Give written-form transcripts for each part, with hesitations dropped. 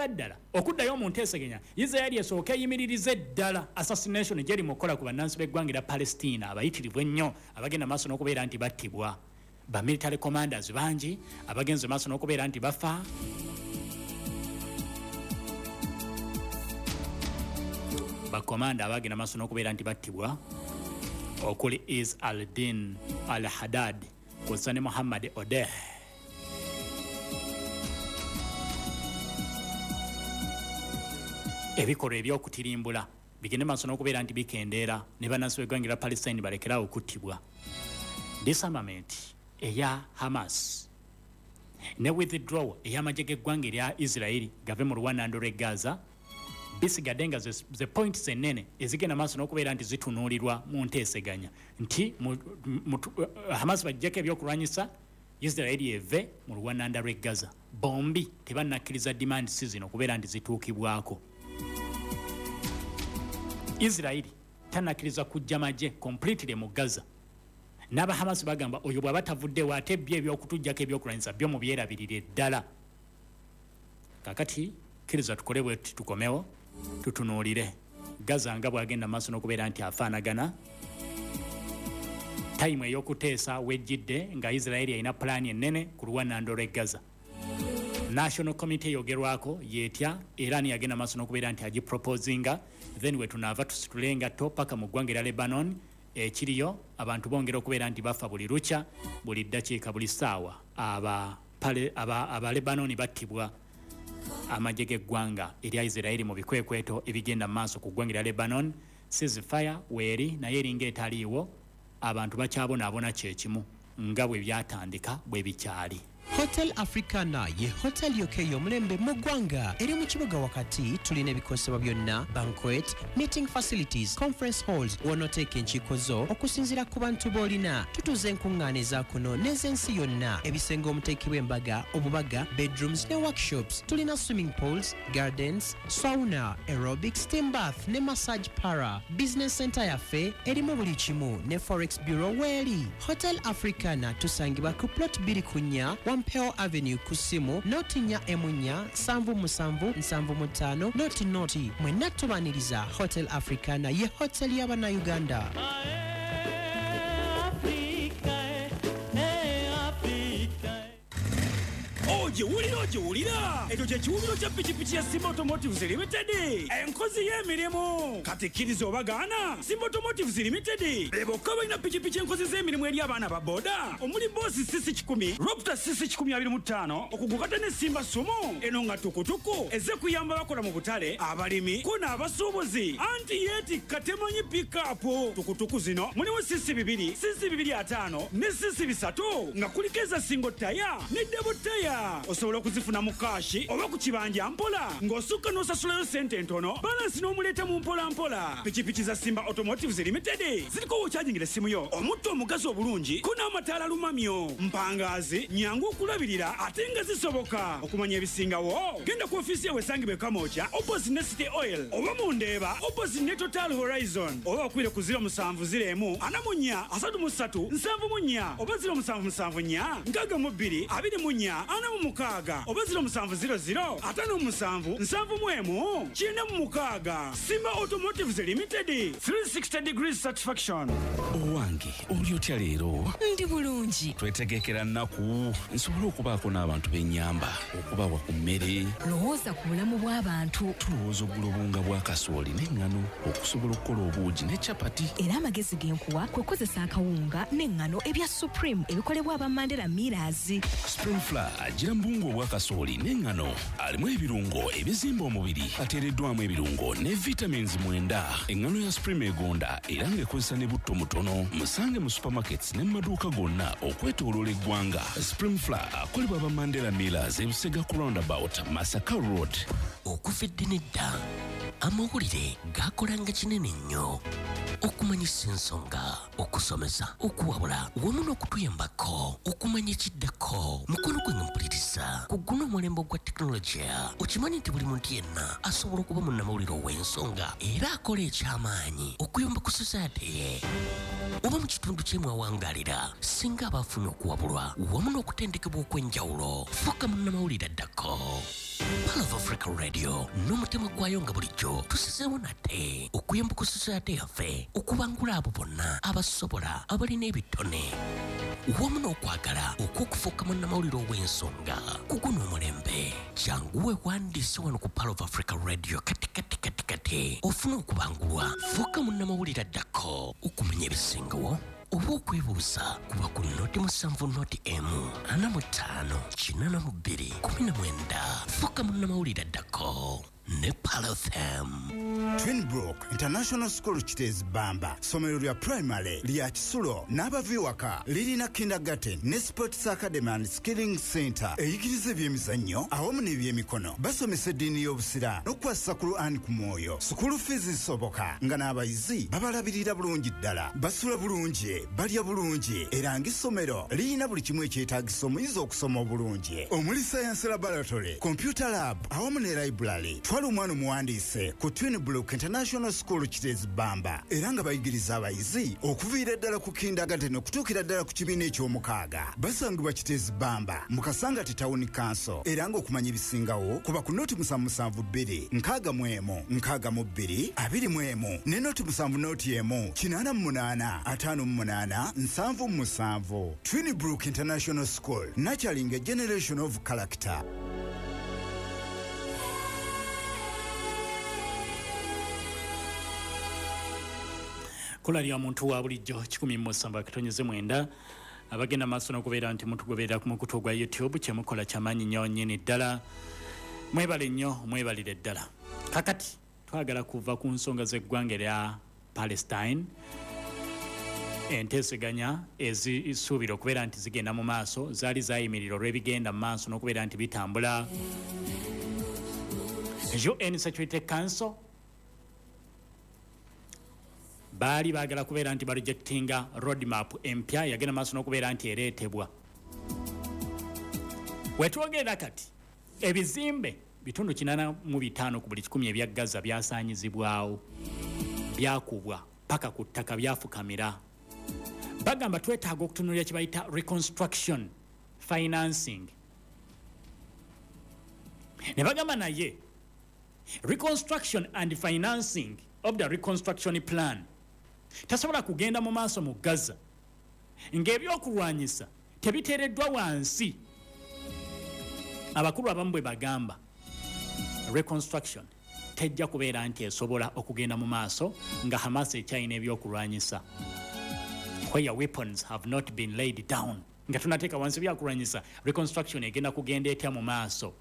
Okusookera ddala okuddayo mu nteeseganya, Isiraeri esooke eyimiririze ddala assassination gyeri mu kukola ku bannansi b'eggwanga erya Palestina abayitirivu ennyo abagenda maaso n'okubeera nti battibwa. Ba military commanders bangi abagenze maaso n'okubeera nti bafa. Bakomanda abagenda maaso n'okubeera nti battibwa okuli Is al-Din al-Haddad kw'ossa ne Muhammad Odeh. Ebikolwa eby'okutirimbula bigende maaso n'okubeera nti bikendeera ne bannansi b'eggwanga erya Palestine balekere awo okuttibwa. Disarmament eya Hamas ne withdrawal ey'amagye g'eggwanga erya Israeli gave mu luwanando lw'e Gaza bisigadde nga ze points ennene ezigenda maaso n'okubeera nti zitunuulirwa mu nteeseganya nti Hamas baggyeko ebyokulwanyisa, Israeli eve mu luwananda lw'e Gaza. Bombi tebannakkiriza demands zino okubeera nti zituukibwako. Israeli tannakkiriza kuggya magye completely mu Gaza, n'aba Hamas bagamba oyo bw'aba tavuddewo ate byo ebyokutuggyako ebyokulwanyisa byo mubyerabirire ddala. Kakati kkiriza tukole bwe tuti, tukomewo tutunuulire Gaza nga bw'agenda maaso n'okubeera nti afaanagana. Tayimu ey'okuteesa wejjidde nga Isiraeri erina pulaani ennene ku luwanando lw'e Gaza. National Committee eyogerwako yeetya era ani yagenda maaso n'okubeera nti agiproposinga? Then we tunaava tusitule engatto paka mu ggwanga erya Lebanon ekiriyo abantu bongera okubeera nti bafa buli lukya, buli ddakiika, buli ssaawa. Aba Lebanon battibwa amagye g'eggwanga erya Isiraeri mu bikwekweto ebigenda mu maaso ku ggwanga erya Lebanon. Ceasefire weeri naye eringa etaliiwo, abantu bakyabonaabona kyekimu nga bwe byatandika bwe bikyali. Hotel Africana ye hotel yokka ey'omulembe mu ggwanga, eri mu kibuga wakati. Tulina ebikozesebwa byonna, banquet, meeting facilities, conference halls w'onooteeka enkiiko zo okusinziira ku bantu b'olina. Tutuuza enkuŋŋaana eza kuno n'ez'ensi yonna, ebisenge omuteekebwa embaga, obubaga, bedrooms ne workshops. Tulina swimming pools, gardens, sauna, aerobic, steam bath ne massage parlour. Business center yaffe erimu buli kimu ne forex bureau weeri. Hotel Africana tusangibwa ku plot 24 Wampeo Avenue, ku ssimu 0 4 77 75 00. Mwenna tubaniriza. Hotel Africana ye hotel y'Abannayuganda. Africa, eh, Africa. Ogiwulira, ogiwulira, ekyo kye kiwubiro kya pikipiki ya Simba Automotives Limited, enkozi y'emirimu. Kati kkiriza oba gaana, Simba Automotives Limited be bokka balina pikipiki enkozi z'emirimu eri abaana ba boda, omuli Boss CC 100, Raptor CC 125, okugukata ne Simba Sumu eno nga tukutuku ezze kuyamba bakola mu butale, abalimi ko n'abasuubuzi, anti yeetikka temanyi pikapu. Tukutuku zino mulimu CC 2, CC 250 ne CC 300, nga kuliko eza single tire ne double tire. Osobola okuzifuna mu cash oba ku kibanja mpola, ng'osukka n'osasulayo sente entono, balance n'omuleeta mu mpola mpola. Pikipiki za Simba Automotives Limited ziriko wokyajingira essimu yo, omutto omugazi obulungi ko n'amataala lumamyo, mpangaazi, nyangu okulabirira ate nga zisoboka. Okumanya ebisingawo genda ku ofiisi yawe esangibwa e Kamwokya opposite ne City Oil, oba mu Ndeeba opposite ne Total Horizon, oba bakubire ku 0701 44 33 74 oba 0774 62 24 46 oba 0700 57 71 96. Simba Automotives Limited, 360 degrees satisfaction. Owange, oli otya leero? Ndi bulungi. Twetegekera nnaku nsobole okubaako n'abantu b'ennyamba okubawa ku mmere. Lowooza ku bulamu bw'abantu. Tulowooza ogula obuwunga bwa kasooli n'eŋŋano okusobola okukola obuugi ne capati. Era amagezi ge nkuwa kwe kukozesa akawunga n'eŋŋano ebya Supreme ebikolebwa aba Mandela Millers. Supreme Flour agira mu buwunga obwa kasooli n'eŋŋano, alimu ebirungo ebizimba omubiri, ateereddwamu ebirungo ne vitamins 9. Eŋŋano ya Supreme egonda era ng'ekozesa ne butto mutono. Musange mu supermarkets ne mu maduuka gonna okwetooloola eggwanga. Supreme Flour akolebwa aba Mandela Millers, ebusega ku roundabout Masaka Road. Okuva edda nedda amawulire gakolanga kinene nnyo. Okumanyisa ensonga, okusomesa, okuwabula wamu n'okutuyambako okumanya ekiddako. Mukono gwange mpuliriza ku guno omulembe ogwa tekinologiya, okimanyi nti buli muntu yenna asobola okuba munnamawulire ow'ensonga era akola ekyamaanyi okuyamba ku society ye oba mu kitundu kye mwawangalira, singa aba afunye okuwabulwa wamu n'okutendekebwa okw'enjawulo. Fuuka munnamawulire addako. Pearl of Africa Radio n'omutima gwayo nga bulijjo tusizeewo nate okuyamba ku society yaffe okubangula abo bonna abasobola, abalina ebitone wamu n'okwagala okw'okufuuka munnamawulire ow'ensonga ku guno omulembe. Jangu weewandiise wano ku Pearl of Africa Radio kati kati kati kati ofune okubangulwa. Fuuka munnamawulire addako. Okumanya ebisingawo oba okwebuuza, kuba ku 070 145 82 19. Fuuka munnamawulire addako ne Pearl FM. Twinbrook International School Kiteezi Bamba, ssomero lya primary lya kisulo n'abava ewaka. Lirina kindergarten ne sports academy and skilling center eyigiriza ebyemizannyo awamu n'ebyemikono. Basomesa eddiini y'Obusiraamu n'okukwasisa Quran ku mwoyo. School fees zisoboka nga n'abayizi babalabirira bulungi ddala, basula bulungi, balya bulungi, era ng'essomero lirina buli kimu ekyetaagisa omuyizi okusoma obulungi, omuli science laboratory, computer lab awamu ne library. Twala omwana omuwandiise ku Twinbrook International School Kiteezi Bamba, era nga bayigiriza abayizi okuviira ddala ku kindergarten okutuukira ddala ku kibiina eky'omukaaga. Basangibwa Kiteezi Bamba mu Kasangati Town Council, era ng'okumanya ebisingawo kuba ku 072 61 62 21 ne 070 1 88 58 77. Twinbrook International School, nurturing a generation of character. Kola lya muntu wa bulijjo 179. Abagenda maaso n'okubeera nti mutugoberera ku mukutu ogwa YouTube, kyemukola kyamaanyi nnyo nnyini ddala. Mwebale nnyo, mwebalire ddala. Kakati twagala kuva ku nsonga z'eggwanga erya Palestine, enteeseganya ezisuubira okubeera nti zigenda mu maaso zaali zayimirira olw'ebigenda mu maaso n'okubeera nti bitambula. UN Security Council baali baagala kubeera nti barejectinga roadmap empya yagenda maaso n'okubeera nti ereetebwa. Wetwogerera kati, ebizimbe 85% ku buli 100 ebya Gaza byasaanyizibwawo, byakubwa paka ku ttaka, byafukamira. Bagamba twetaaga okutunuulira kye bayita reconstruction financing. Ne bagamba naye reconstruction and financing of the reconstruction plan tasobola kugenda mu maaso mu Gaza ng'ebyokulwanyisa tebiteereddwa wansi. Abakulu abamu bwe bagamba reconstruction tejja kubeera nti esobola okugenda mu maaso nga Hamas ekyalina ebyokulwanyisa, where weapons have not been laid down. Nga tunateeka wansi byakulwanyisa, reconstruction egenda kugenda etya mu maaso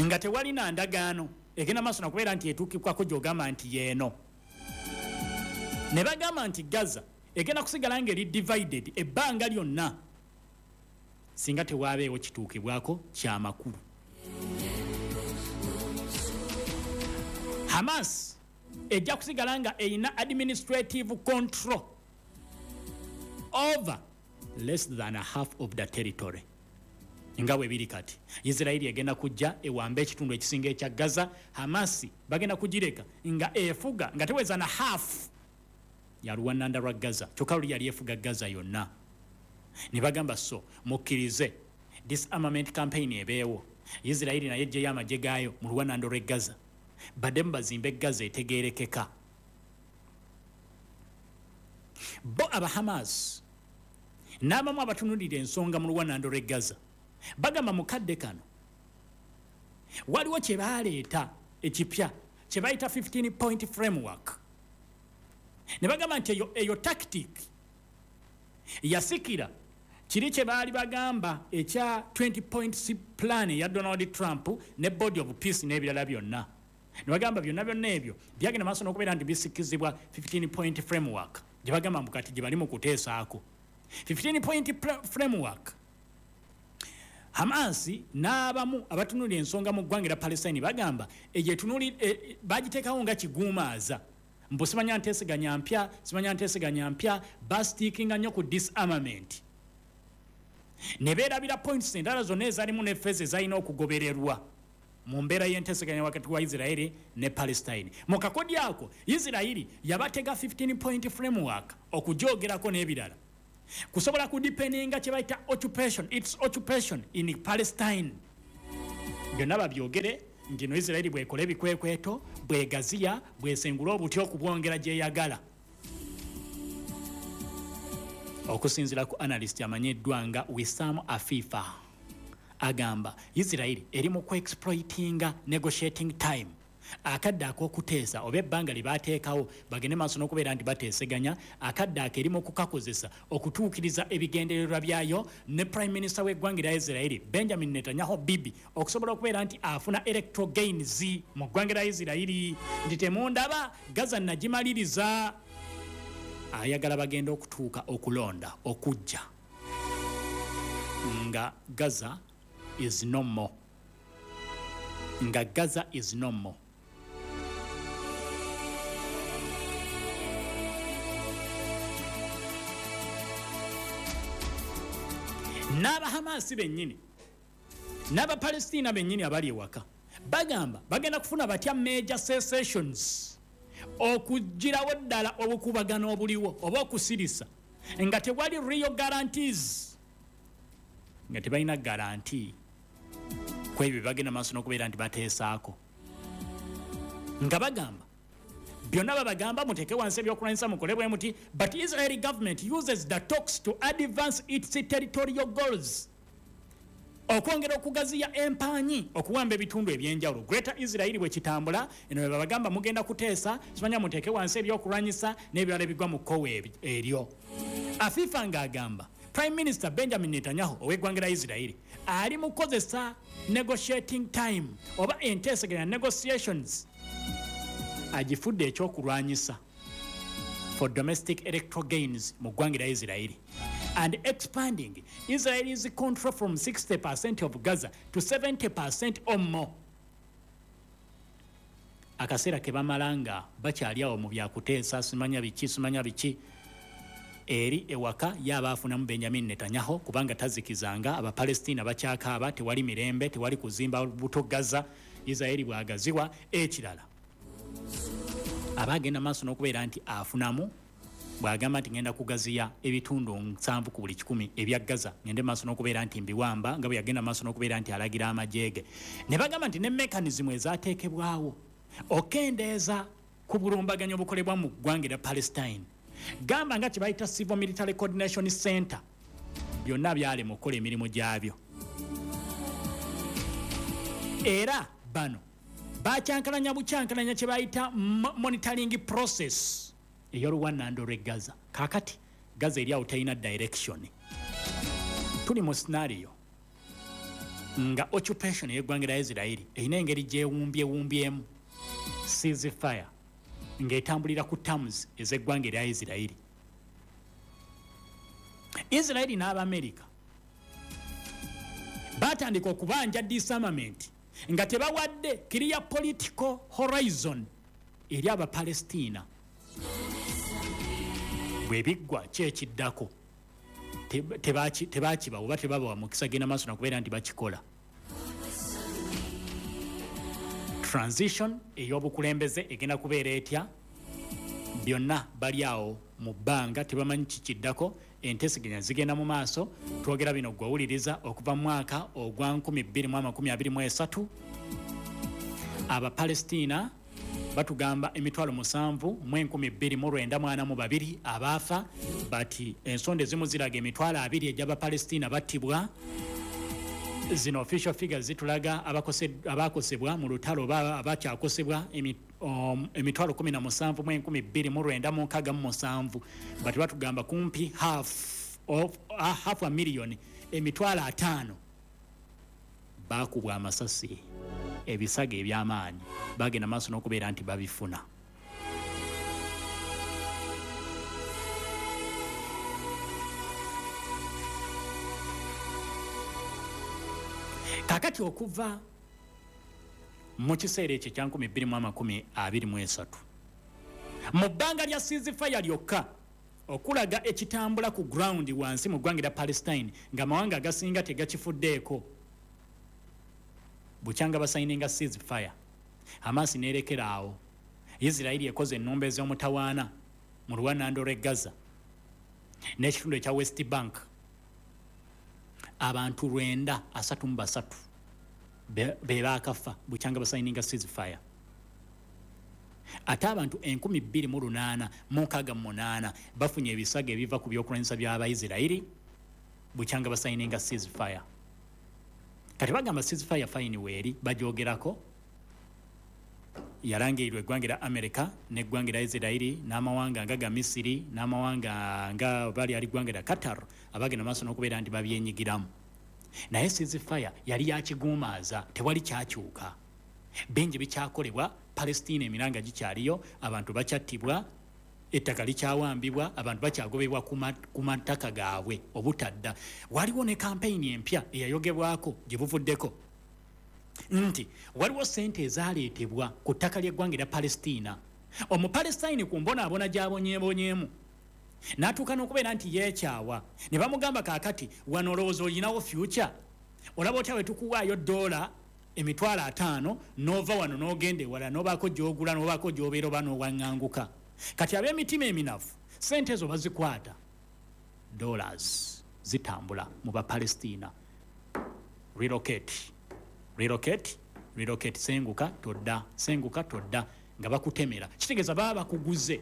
nga tewalina ndagaano egenda maaso nakubeera nti etuukibwako gy'ogamba nti yeeno? Ne bagamba nti Gaza egenda kusigala ng'eri divided ebbanga lyonna singa tewaabeewo kituukibwako kyamakulu. Hamas ejja kusigala nga erina administrative control over less than a half of the territory nga bwe biri kati. Isirairi egenda kujja ewambe ekitundu ekisinga ekya Gaza. Hamasi bagenda kugireka nga efuga nga teweza na half ya luwananda lwa Gaza, kyokka luli yali efuga Gaza yonna. Ne bagamba so mukkirize disarmament campaign ebeewo, Isirairi naye ejjeyo amagye gaayo mu luwananda lw'e Gaza, baddemu bazimbe Gaza etegeerekeka. Bo aba Hamas n'abamu abatunulira ensonga mu luwanando lw'e Gaza bagamba mu kadde kano waliwo kye baleeta ekipya kye bayita 15 point framework. Ne bagamba nti eyo tactic yasikira kiri kye baali bagamba ekya 20 point plan ya Donald Trump ne Board of Peace n'ebirala byonna. Ne bagamba byonna byonna ebyo byagenda maaso n'okubeera nti bisikizibwa 15 point framework gye bagamba mbu kati gye bali mu kuteesaako. 15 point framework, Hamas n'abamu abatunulira ensonga mu ggwanga erya Palestine bagamba eyo bagiteekawo nga kiguumaaza. Mbu simanya nteeseganya mpya, simanya nteeseganya mpya, bastickinga nnyo ku disarmament ne beerabira points endala zonna ezalimu ne phase ezalina okugobererwa mu mbeera y'enteeseganya wakati wa Isiraeri ne Palestine. Mu kakodi ako Isiraeri yabatega 15 point framework okujogerako n'ebirala kusobola kudeepeninga kye bayita occupation, its occupation in Palestine. Byonna babyogere nti no Isiraeri bwekola ebikwekweto, bwegaziya, bwesengula obuti okubwongera gyeyagala. Okusinziira ku analyst amanyiddwa nga Wissam Afifa, agamba Isiraeri eri mu kuexploitinga negotiating time, akadde ak'okuteesa oba ebbanga lye baateekawo bagende maaso n'okubeera nti bateeseganya, akadde ako eri mu kukakozesa okutuukiriza ebigendererwa byayo ne Prime Minister w'eggwanga lya Isiraeri Benjamin Netanyahu Bibi okusobola okubeera nti afuna electoral gains mu ggwanga lya Isiraeri nti temundaba Gaza nagimaliriza. Ayagala bagenda okutuuka okulonda okujja nga Gaza is no more, nga Gaza is no more. N'Abahamasi bennyini n'Abapalestina bennyini abali ewaka bagamba bagenda kufuna batya major cessations okugirawo ddala obukubagano obuliwo oba okusirisa nga tewali real guarantees, nga tebalina guarantee ku ebyo bagenda maaso n'okubeera nti bateesaako. Nga bagamba byonna babagamba muteeke wansi ebyokulwanyisa mukole bwe muti, but Israeli government uses the talks to advance its territorial goals, okwongera okugaziya empanyi okuwamba ebitundu ebyenjawulo. Greater Israel bwe kitambula eno bwe babagamba mugenda kuteesa, simanya muteeke wansi ebyokulwanyisa n'ebirala ebigwa mu kkowe eryo. Afifa ng'agamba Prime Minister Benjamin Netanyahu ow'eggwanga lya Israeli ali mu kukozesa negotiating time oba enteeseganya negotiations agifudde ekyokulwanyisa for domestic electoral gains mu ggwanga lya Israeli and expanding Israel's control from 60% of Gaza to 70% or more. Akaseera ke bamala nga bakyali awo mu byakuteesa simanya biki simanya biki, eri ewaka yaba afunamu Benjamin Netanyahu kubanga tazikizanga Abapalestina bakyakaaba, tewali mirembe, tewali kuzimba buto Gaza, Israeli bwagaziwa. Ekirala aba agenda maaso n'okubeera nti afunamu bw'agamba nti ngenda kugaziya ebitundu 70 ku buli 100 ebya Gaza, ngende maaso n'okubeera nti mbiwamba, nga bwe yagenda maaso n'okubeera nti alagira amagye ge. Ne bagamba nti ne mechanism ezaateekebwawo okendeeza ku bulumbaganyi obukolebwa mu ggwanga erya Palestine, gamba nga kye bayita Civil Military Coordination Center, byonna byalema okukola emirimu gyabyo. Era bano bakyankalanya bukyankalanya kye bayita monitoring process ey'oluwannando lw'e Gaza. Kaakati Gaza eri awo terina direction. Tuli mu scenario nga occupation ey'eggwanga lya Israeli erina engeri gyewumbyewumbyemu ceasefire ng'etambulira ku terms ez'eggwanga erya Israeli. Israeli n'Abamerika batandika okubanja disarmament nga tebawadde clear political horizon eri Abapalestina. Bwe biggwa ki ekiddako? Tebakibawa oba tebabawa mukisa genda maaso nakubeera nti bakikola. Transition ey'obukulembeze egenda kubeera etya? Byonna bali awo mu bbanga tebamanyi kikiddako. Enteeseganya zigenda mu maaso. Twogera bino gwewuliriza okuva mu mwaka ogwa 2023 Abapalestina batugamba 7,242 abaafa, but ensonda ezimu ziraga 20,000 egy'Abapalestina battibwa. Zino official figures zitulaga abakosebwa mu lutalo oba abakyakosebwa 17,267, but batugamba kumpi half a million, 50,000 bakubwa amasasi, ebisago eby'amaanyi bagenda maaso n'okubeera nti babifuna. Kaakati okuva mu kiseera ekyo ekya 2023 Mu bbanga lya ceasefire lyokka, okulaga ekitambula ku ground wansi mu ggwanga lya Palestine ng'amawanga agasinga tegakifuddeeko, bukyanga basayininga ceasefire, Hamas neerekera awo. Isirairi ekoze ennumba ez'omutawaana mu luwanando lw'e Gaza n'ekitundu ekya West Bank. Abantu 933 be baakafa bukyanga basayininga ceasefire, ate abantu 2868 bafunye ebisago ebiva ku byokulwanyisa by'Abaisirairi bukyanga basayininga ceasefire. Kati bagamba ceasefire fine, weeri bagyogerako, yalangirirwa eggwanga lya America n'eggwanga lya Isirairi n'amawanga nga ga Misiri n'amawanga nga bali ali ggwanga lya Qatar abagenda maaso n'okubeera nti babyenyigiramu. Naye ceasefire yali yakiguumaaza, tewali kyakyuka, bingi bikyakolebwa Palestina, emiranga gikyaliyo, abantu bakyattibwa, ettaka likyawambibwa, abantu bakyagobebwa ku mataka gaabwe obutadda. Waliwo ne kampeyini empya eyayogebwako gye buvuddeko nti waliwo sente ezaleetebwa ku ttaka ly'eggwanga erya Palestina. Omupalestine ku mbonaabona gy'abonyeebonyeemu n'atuuka n'okubeera nti yeekyawa, ne bamugamba, "Kaakati wano olowooza olinawo future? Olaba otya bwe tukuwaayo $50,000 n'ova wano n'ogenda ewala, n'obaako gy'ogula, n'obaako gy'obeera oba n'owaŋŋanguka?" Kati ab'emitima eminafu sente ezo bazikwata, dollars zitambula mu Bapalestina, "Relocate, relocate, relocate, senguka todda, senguka todda," nga bakutemera. Kitegeeza baba bakuguze.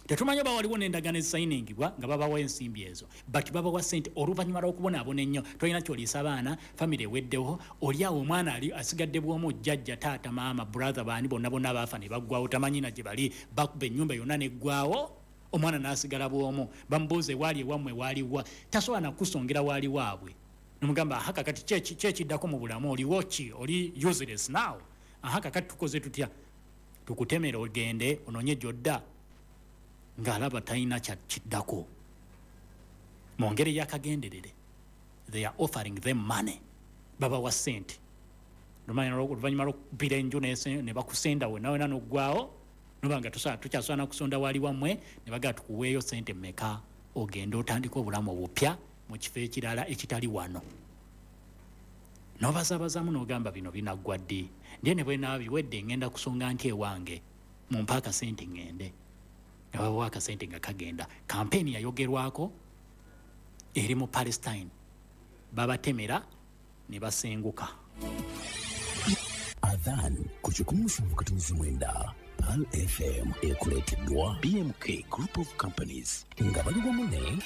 Tetumanyi oba waliwo n'endagaano ezisayiningibwa nga babawa ensimbi ezo, but babawa sente oluvannyuma lw'okubonaabona ennyo. Tolina kyoliisa abaana, famire eweddewo, oli awo omwana ali asigadde bwomu, jjajja, taata, maama, brother, baani, bonna bonna baafa ne baggwawo, tamanyi na gye bali. Bakuba ennyumba yonna neggwawo, omwana n'asigala bwomu. Bamubuuza, "Ewaali ewammwe waaliwa?" Tasobola nakusongera waali waabwe. Nomugamba, "Aha, kakati kyekiddako mu bulamu? Oliwo ki? Oli useless now. Aha, kakati tukoze tutya? Tukutemera ogende onoonye gyodda?" Ng'alaba talina kiddako. Mu ngeri yakagenderere they are offering them money, babawa sente oluvannyuma lwokubira enju ne bakusenda wena wena noggwawo, noba nga tukyasobola nakusonda waali wammwe, ne bagaa, "Tukuweeyo sente mmeka ogende otandike obulamu obupya mu kifo ekirala ekitali wano?" Nobazabazaamu n'ogamba, "Bino binaggwa ddi? Ndiye ne bwenaaba biwedde ngenda kusonga nti ewange, mumpe akasente ŋŋende." Nga babawa akasente nga kagenda. Kampeeni yayogerwako eri mu Palestine, babatemera ne basenguka. Adhan ku 107.9 Pearl FM ekuleeteddwa BMK Group of Companies nga bali wamu ne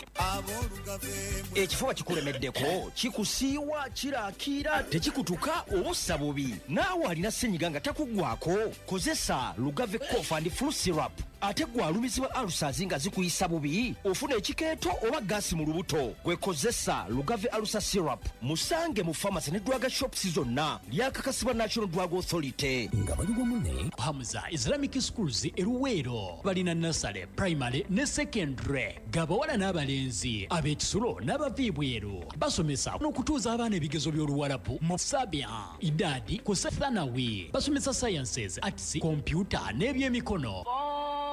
Ekifuba kikulemeddeko, kikusiiwa, kirakiira, tekikutuka oba ossa bubi, naawe alina senyiga nga takuggwako, kozesa Lugave Cough and Flu Syrup. Ate gwe alumizibwa ulcers nga zikuyisa bubi, ofuna ekikeeto oba gaasi mu lubuto, gwe kozesa Lugave Ulcer Syrup. Musange mu pharmacy ne drug shops zonna. Lyakakasibwa National Drug Authority. Nga bali wamu ne Hamza Islamic Schools eruweero balina nursery, primary ne secondary, gabawala n'abalenzi, ab'ekisulo n'abava ebweru. Basomesa n'okutuuza abaana ebigezo by'Oluwalabu mu sabia, idadi ku thanawi. Basomesa sciences, arts, kompyuta n'ebyemikono.